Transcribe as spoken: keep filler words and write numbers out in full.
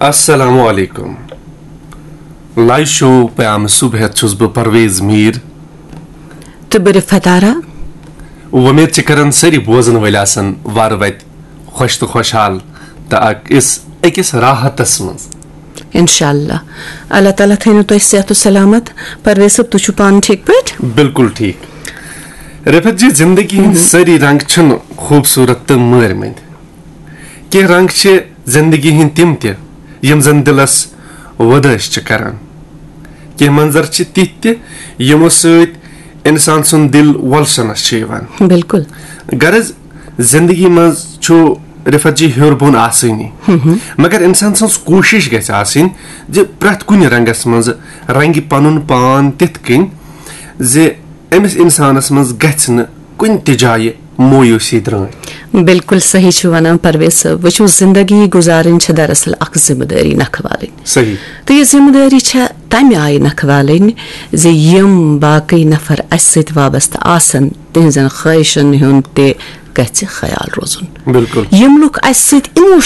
السلام علیکم۔ Live show پیام صبح ہیتھ چھُس بہٕ پرویز میر۔ تہٕ بہٕ رِفت آرا۔ وۄمید چھِ کران سٲری بوزن وٲلۍ آسن وارٕ وتہِ خۄش تہٕ خۄشحال تہٕ اکھ أکِس راحتس منٛز۔ انشاءاللہ۔ اللہ تعالیٰ تھٲینو تۄہہِ صحت و سلامت۔ پرویز صٲب، تُہۍ چھِو پانہٕ ٹھیٖک پٲٹھۍ؟ بالکل ٹھیٖک۔ رِفت جی، زندگی ہٕنٛدۍ سٲری رنگ چھِنہٕ خوٗبصوٗرت تہٕ مٲرۍ مٔنٛدۍ۔ کینٛہہ رنگ چھِ زندگی ہٕنٛدۍ تِم تہِ یِم زن دِلس وۄدٲسۍ چھِ کران۔ کینٛہہ منظر چھِ تِتھۍ تہِ یِمو سۭتۍ انسان سُنٛد دِل وۄلسنس چھُ یِوان۔ بالکل۔ غرض، زندگی منٛز چھُ رِفت جی ہیوٚر بۄن آسٲنی، مگر انسان سٕنٛز کوٗشش گژھِ آسٕنۍ زِ پرٛٮ۪تھ کُنہِ رنگس منٛز رنگہِ پنُن پان تِتھ کٔنۍ زِ أمِس انسانس منٛز گژھِ نہٕ کُنہِ تہِ جایہِ مویوٗسی درٛٲنۍ۔ بالکل صحیح چھُ ونان پرویز صٲب۔ وٕچھِو، زندگی گُزارٕنۍ چھِ دراصل اکھ ذمہٕ دٲری نکھٕ والٕنۍ۔ صحیح۔ تہٕ یہِ ذمہٕ دٲری چھےٚ تمہِ آیہِ نکھٕ والٕنۍ زِ یِم باقٕے نفر اسہِ سۭتۍ وابستہٕ آسن، تِہنٛزن خٲہشن ہُنٛد تہِ گژھِ خیال روزُن۔ بالکل۔ یِم لُکھ اسہِ سۭتۍ emotionally